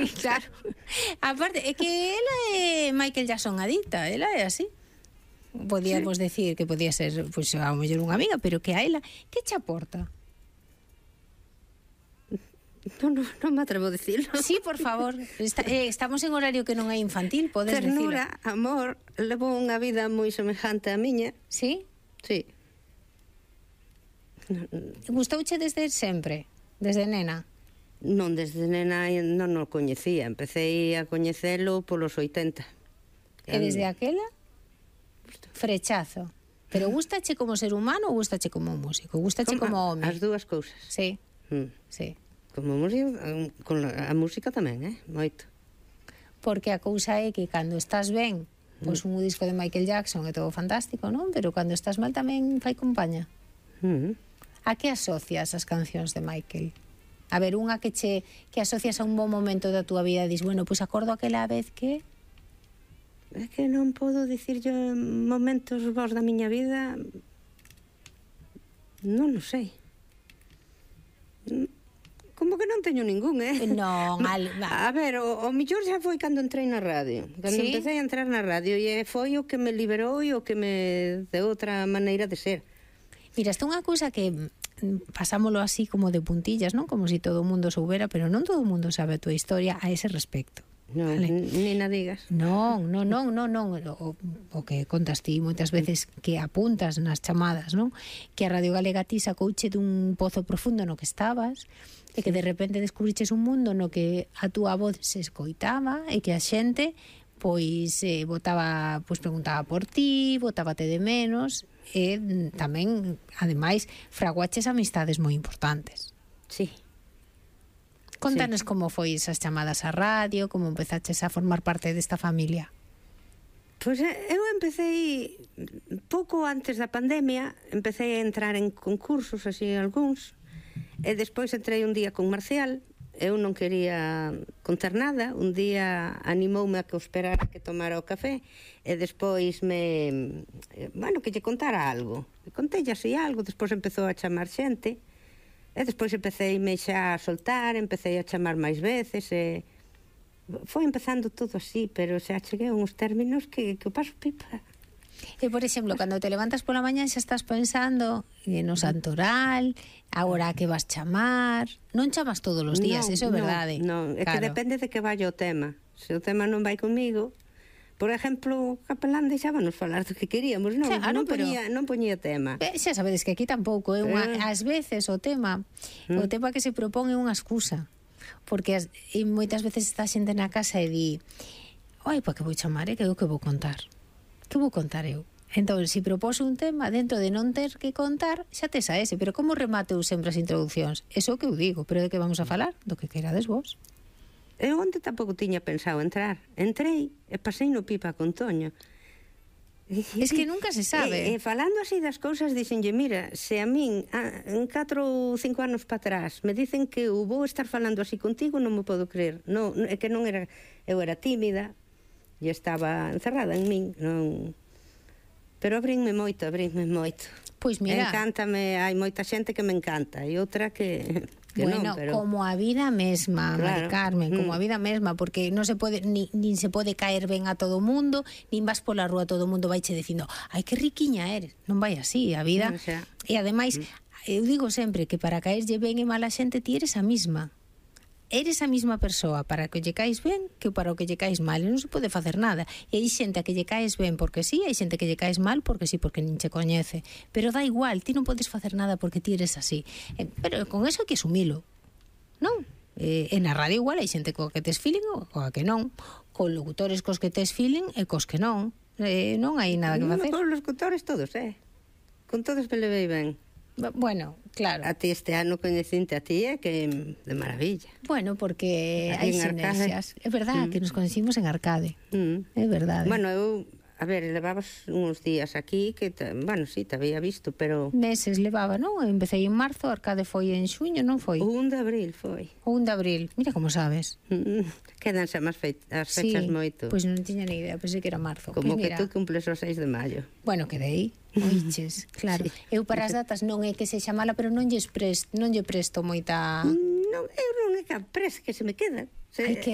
Sí, claro. Aparte, é que ela é Michael Jackson adicta, ela é así. Podíamos decir que podía ser, pois, a lo mellor unha amiga, pero que a ela, que che aporta? Non me atrevo a dicirlo. Sí, por favor. Estamos en horario que non é infantil, podes decirlo. Ternura, amor, levo unha vida moi semejante á miña. Sí? Sí. Gustouche desde sempre? Desde nena? Non, desde nena non o coñecía. Empecé a coñecelo polos 80. E desde aquela? Frechazo. Pero gustache como ser humano ou gustache como músico? Gustache como home? As dúas cousas. Sí. Sí. Como músico, con a música tamén, moito. Porque a cousa é que cando estás ben, pois un disco de Michael Jackson é todo fantástico, non? Pero cando estás mal tamén fai compaña. A que asocias as cancións de Michael? A ver, unha que asocias a un bon momento da túa vida e dis, bueno, pois acordo aquela vez que... É que non podo dicir yo momentos vos da miña vida. Non o sei. Como que non teño ningún, Non, a ver, o mellor xa foi cando entrei na radio. Cando empecé a entrar na radio e foi o que me liberou e o que me deu outra maneira de ser. Mira, esta é unha cousa que pasámolo así como de puntillas, non? Como se todo o mundo soubera, pero non todo o mundo sabe a tua historia a ese respecto. Non, ni na digas. Non. O que contas ti moitas veces que apuntas nas chamadas, non? Que a Radio Galega ti sacouche dun pozo profundo no que estabas e que de repente descubriches un mundo no que a túa voz se escoitaba e que a xente pois preguntaba por ti, botábate de menos e tamén, ademais, fraguaches amistades moi importantes. Sí. Contanos como foi esas chamadas á radio, como empezaches a formar parte desta familia. Pois eu empecé pouco antes da pandemia, empecé a entrar en concursos, así algúns, e despois entrei un día con Marcial. Eu non quería contar nada, un día animoume a que o esperara que tomara o café e despois que lle contara algo. Contelle así algo, despois empezou a chamar xente. E despois empecéime xa a soltar, empecé a chamar máis veces e foi empezando todo así, pero xa cheguei a uns términos que o paso pipa. E, por exemplo, cando te levantas pola mañá xa estás pensando no santoral, agora que vas chamar, non chamas todos os días, eso é verdade. Non, é que depende de que vai o tema. Se o tema non vai comigo, por exemplo, o capelán deixábanos falar do que queríamos, non poñía tema. Xa sabedes que aquí tampouco, ás veces o tema que se propón é unha excusa, porque moitas veces está xente na casa e di, oi, pa que vou chamar, que é o que vou contar? Que vou contar eu? Entón, se propose un tema, dentro de non ter que contar, xa tes a ese, pero como remato eu sempre as introducións? Eso que eu digo, pero de que vamos a falar? Do que querades vos. Eu onde tampouco tiña pensado entrar. Entrei e pasei no pipa con Toño. Es que nunca se sabe. Falando así das cousas, dixenlle, mira, se a min en 4 ou 5 anos para atrás me dicen que eu vou estar falando así contigo, non me podo creer. Non, é que non era, eu era tímida e estaba encerrada en min, non. Pero abrinme moito. Pois mira, encántame, hai moita xente que me encanta e outra que bueno, non, pero... como a vida mesma, claro. Mari Carmen, como a vida mesma, porque non se pode, nin se pode caer ben a todo o mundo, nin vas pola rúa todo o mundo vaiche dicindo, ai, que riquiña eres. Non vai así, a vida. O sea, e ademais, eu digo sempre que para caerlle ben e mal a xente ti eres a mesma. Eres a mesma persoa para que lle caes ben que para o que lle caes mal, e non se pode facer nada. E hai xente a que lle caes ben porque sí, hai xente que lle caes mal porque sí, porque nin che coñece, pero dá igual, ti non podes facer nada porque ti eres así, pero con eso hai que asumilo, non? En a radio igual hai xente coa que tes feeling ou coa que non, con locutores cos que tes feeling e cos que non, non hai nada que facer. Con los locutores todos, con todos me levei ben. Bueno, claro. A ti este ano coñecinte a ti que de maravilla. Bueno, porque hai sinerxias. É verdade que nos conhecimos en Arcade. É verdade. Bueno, eu, a ver, levabas uns días aquí que, bueno, sí, te había visto, pero... Meses levaba, non? Empecé en marzo, Arcade foi en xuño, non foi? O 1 de abril foi. O 1 de abril, mira como sabes. Quedanse as fechas moito. Pois non tiña ni idea, pensei que era marzo. Como que tú cumples o 6 de maio. Bueno, quedei. Oiches, claro. Sí. Eu para as datas non é que sexa mala, pero non lle presto moita... Non, eu non é que que se me queda. Hai que